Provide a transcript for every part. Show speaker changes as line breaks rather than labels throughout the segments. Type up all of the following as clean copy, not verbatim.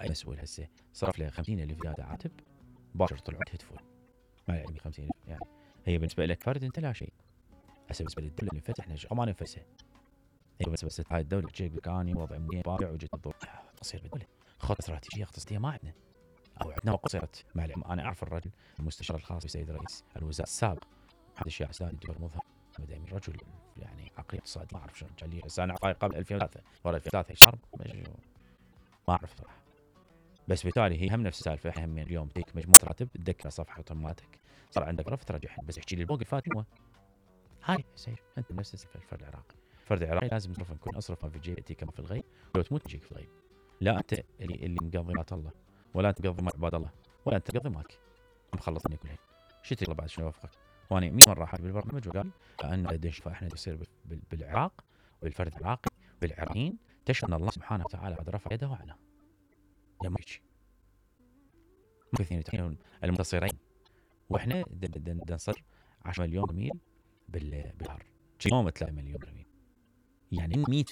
اي مسؤول هسه صرف له 50,000 زياده عاتب باشر طلعوا تهتفون ما يعني 50,000 يعني هي بالنسبه لك فرد انت لا شيء. هسه بالنسبه للدوله اللي فتحنا ما ننفسها هي بس هاي الدوله تجيك بكاني وضع منين بايع وجت الضوء تصير بالدوله خطه استراتيجيه اقتصاديه ما عندنا او عندنا وقصرت مع العلم. انا اعرف الرجل المستشار الخاص بسيد رئيس الوزراء السابق محمد الشيخ السادات الدكتور مظهر مدامي رجل يعني عقليه اقتصادي ما اعرف شلون كان لي بس انا قبل 2003 ورا 2003 صار ما اعرف صراحه. بس بالتالي هي هم نفس السالفه احنا هم اليوم تيك مجموعه راتب تذكر صفحه مالتك صار عندك رفض ترجعها بس احكي لي الموقف فات هو هاي يصير انت نفس السالفه. الفرد العراقي الفرد العراقي لازم تصرف نكون اصرف ما في جيبتي كما في الغيب لو تموت تجيك في الغيب. لا انت اللي مقضي مات الله ولا انت مقضي مات عباد الله ولا انت تقضي مالك مخلصني كلهن شو تطلب بعد شنو اوافقك. وانا 100 مره حاجه بالبرنامج وقال لان قديش فاحنا يصير بالعراق وبالفرد العراقي بالعراقيين تشهد ان الله سبحانه وتعالى قد رفع يده عنا يا ميتشي اثنين المنتصرين واحنا نصر 10 مليون برميل بالبحر يوم 3 مليون برميل يعني 100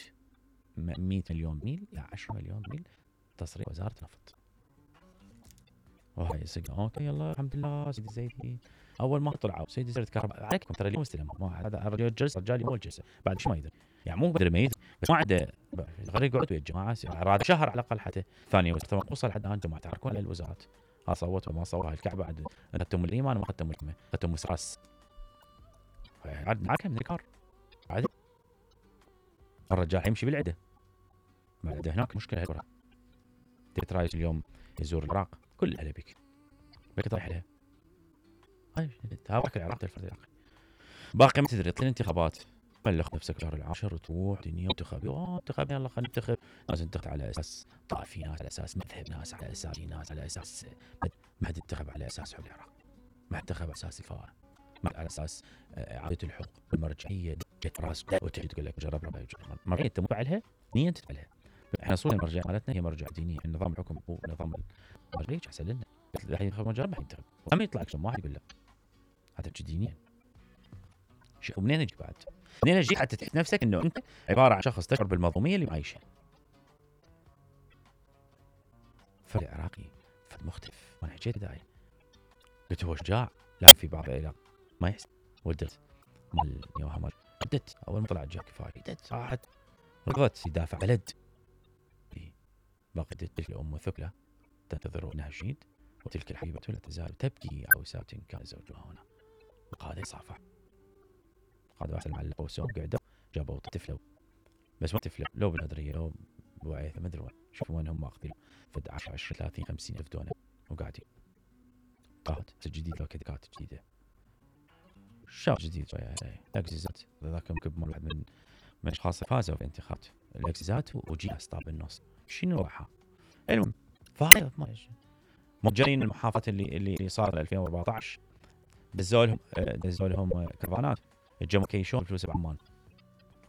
مليون برميل يعني 10 مليون برميل تصريح وزاره النفط. وهاي سجن اوكي يلا الحمد لله سيدي الزيدي اول ما طلعوا سيدي وزاره الكهرباء عليكم ترى اليوم استلموا هذا الرجال جلسه رجالي اول جلسه بعد شو ما يدري يعني مو قدر يميز بس ما عنده غير يقعد ويا الجماعه راد شهر على الاقل حتى ثاني وصل لحد الان جماعه تحركون على الوزارات ها صوت وما صوت هاي الكعبه عاد اخذتم الايمان وما اخذتم الحكمه اخذتم مسراس عاد معك من الكار عادي الرجال يمشي بالعده ما عنده هناك مشكله كبرى. تبي رايح اليوم يزور العراق كل اهله بك رايح لها هاي تابعك العراق الفرد العراقي باقي ما تدري طلع انتخابات بلغ نفسك شهر العاشر وتروح دنيا انتخاب يلا خلينا ننتخب ناس تنتخب على اساس طائفي ناس على اساس مذهب ناس على اساس ناس على اساس ما حد ينتخب على اساس حب العراق ما حد ينتخب على اساس الفاره ما على اساس اعاده الحقوق المرجعيه جت راس وتجي تقول لك جرب ربع مرجعيه انت مفعلها نيه تفعلها. احنا صورنا المرجعيه مالتنا هي مرجع دينيه النظام الحكم هو نظام المرجعيه احسن لنا الحين ينتخب مرجع ما ينتخب وما يطلع اكشن واحد يقول لا هذا دينيا شو منين اجي بعد منين اجي حتى تحس نفسك انه انت عباره عن شخص تشعر بالمظلوميه اللي معيشه. فرد عراقي فرد مختلف وانا حكيت داعي قلت هو شجاع لا في بعض العراق ما يحس ولدت مال يوها مال ردت اول ما طلعت جاك كفايه ردت راحت رفضت يدافع بلد باقي تلك الام ثقله تنتظر انها شهيد وتلك الحبيبه لا تزال تبكي عوسات كان زوجها هنا وقاد يصافح قادوا احسن معلقوا وسوم قعدوا جابوا طفله بس ما طفله لو بالنظريه لو بوعيثه ما ادري وين شوفوا وين هم ماخذين فد 10 20 30 50 الف دولار وقاعدين قاد جديد لو كات جديده شاب جديد شويه الاكسيزات ذاك مكب مال واحد من اشخاص فازوا في الانتخابات الاكسيزات وجياس طاب بالنص شنو راحه المهم فهاي مو جايين المحافظات اللي صار 2014 دزوا لهم كرفانات الجمهور كيشون فلوس بعمان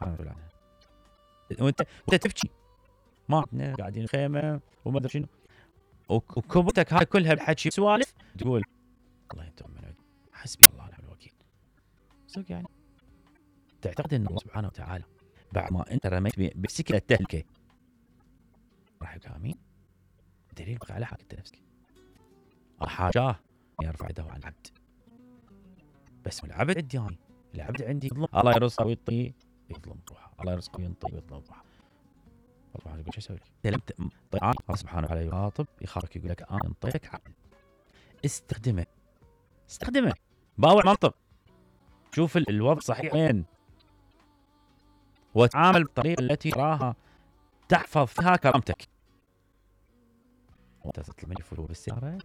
انا اقول عنها وانت تبكي ما عندنا قاعدين خيمه وما ادري شنو وكبتك هاي كلها بحكي سوالف تقول الله يطمن حسبي الله ونعم الوكيل. صدق يعني تعتقد ان الله سبحانه وتعالى بعد ما انت رميت بسكه التهلكه راح يقامين دليل بقى على حق نفسك حاجاه يرفع يده عن العبد بس العبد عندي يعني العبد عندي يظلم الله يرزقه ويعطيه يظلم روحه الله يرزقه وينطي ويظلم روحه الله يقول شو اسوي لك الله سبحانه وتعالى يخاطب يخاطبك يقول لك انا انطيتك عقل استخدمه باوع منطق شوف الوضع صحيح وين وتعامل بالطريقه التي تراها تحفظ فيها كرامتك وانت تطلب مني فلوس بالسياره